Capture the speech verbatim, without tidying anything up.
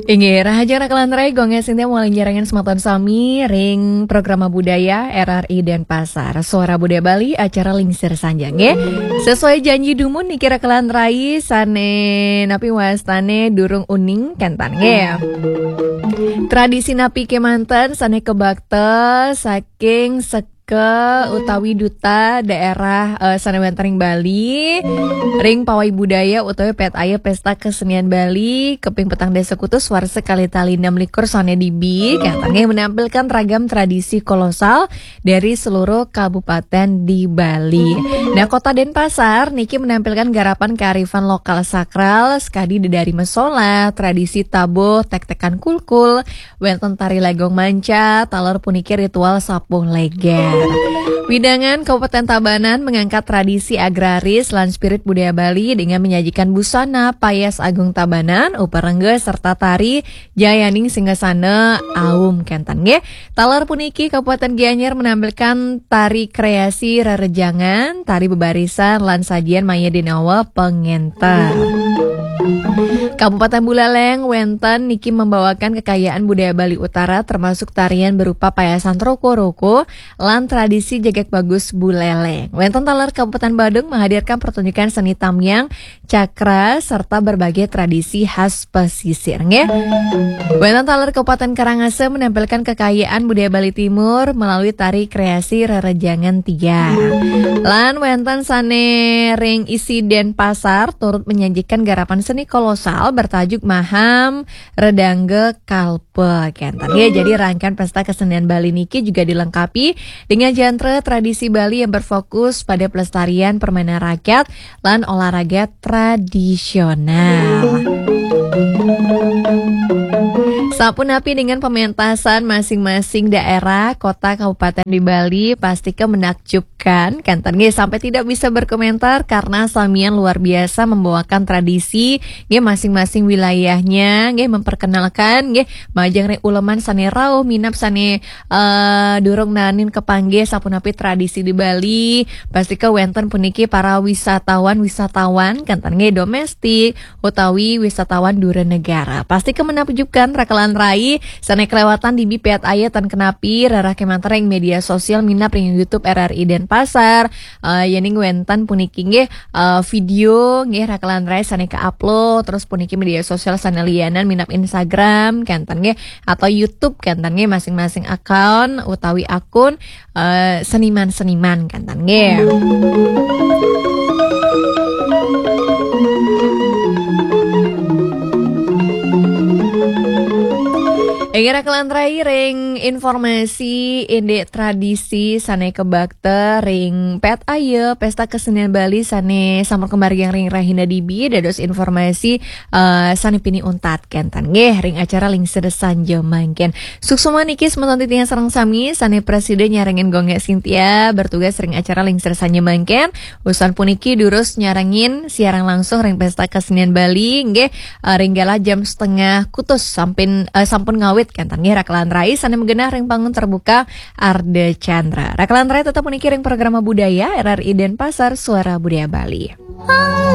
Inggih, rahajeng raka lan rai, Gung Sintia malih nyarengin semeton sami ring Programa Budaya R R I Denpasar. Suara Budaya Bali, acara Lingsir Sanja, nggih. Sesuai janji dumun niki raka lan rai, sane napi wastane durung uning kenten, nggih. Tradisi napi kemanten sane kabakta saking seka utawi duta daerah, eh, sane wenten ring Bali, ring pawai budaya utawi pet aya pesta kesenian Bali, keping petang dasa kutus warsa kalih tali enam likur sane dibi, kenten nggih, menampilkan ragam tradisi kolosal dari seluruh kabupaten di Bali. Nah, Kota Denpasar niki menampilkan garapan kearifan lokal sakral, sekadi dedari mesola, tradisi tabuh, tek-tekan kulkul, wenten tari legong manca, taler puniki ritual sapuh leger. Wewidangan Kabupaten Tabanan mengangkat tradisi agraris lan spirit budaya Bali dengan menyajikan busana payas agung Tabanan, uperengga serta tari Jayaning Singgasana Aum kenten nggih. Taler puniki Kabupaten Gianyar menampilkan tari kreasi rerejangan, tari bebarisan lan sajian maya dinawa pengenter. Kabupaten Buleleng wenten niki membawakan kekayaan budaya Bali Utara termasuk tarian berupa payasan roko-roko lan tradisi jegeg bagus Buleleng. Wenten taler Kabupaten Badung menghadirkan pertunjukan seni tamiang, cakra, serta berbagai tradisi khas pesisir, nggih. Wenten taler Kabupaten Karangasem menampilkan kekayaan budaya Bali Timur melalui tari kreasi rerejangan tiang. Lan wenten sane ring isi Denpasar turut menyajikan garapan seni kolosal bertajuk Maham Redangga Kalpa kenten. Ya, jadi rangkaian pesta kesenian Bali niki juga dilengkapi dengan genre tradisi Bali yang berfokus pada pelestarian permainan rakyat lan olahraga tradisional. Sapunapi dengan pementasan masing-masing daerah, kota, kabupaten di Bali, pastika menakjubkan, kenten nggih, sampai tidak bisa berkomentar karena samian luar biasa membawakan tradisi nggih masing-masing wilayahnya, nggih memperkenalkan nggih majeng ring uleman sane rauh minab sane eh, durung naenin kepanggih sapunapi tradisi di Bali, pastika wenten puniki para wisatawan-wisatawan, kenten nggih domestik utawi wisatawan dura negara. Pastika menakjubkan raka lan rai, sane kelewatan dibi pet aya tan kenapi rerah kemanten ring media sosial minab ring YouTube R R I Denpasar, eh, yening wenten puniki nggih, eh, video nggih raka lan rai sane ka-upload, terus puniki media sosial sane lianan minab Instagram, kenten nggih, atau YouTube kenten nggih masing-masing account utawi akun, eh, seniman-seniman kenten nggih. Inggih raka lan rai ring informasi indik tradisi sane kabakta ring pet aya pesta kesenian Bali sane sampun kamargiang ring rahina dibi dados informasi, eh, sane pinih untat kenten nggih ring acara Lingsir Sanja mangkin. Suksma niki semeton titiang sareng sami sane prasida nyarengin Gung Sintia bertugas ring acara Lingsir Sanja mangkin. Usan puniki durus nyarengin siaran langsung ring Pesta Kesenian Bali nggih, eh, ring galah jam setengah kutus sampin, eh, sampun ngawit kenten nggih raka lan rai sane magenah ring panggung terbuka Ardha Candra. Raka lan rai tetep puniki ring programa budaya R R I Denpasar Suara Budaya Bali.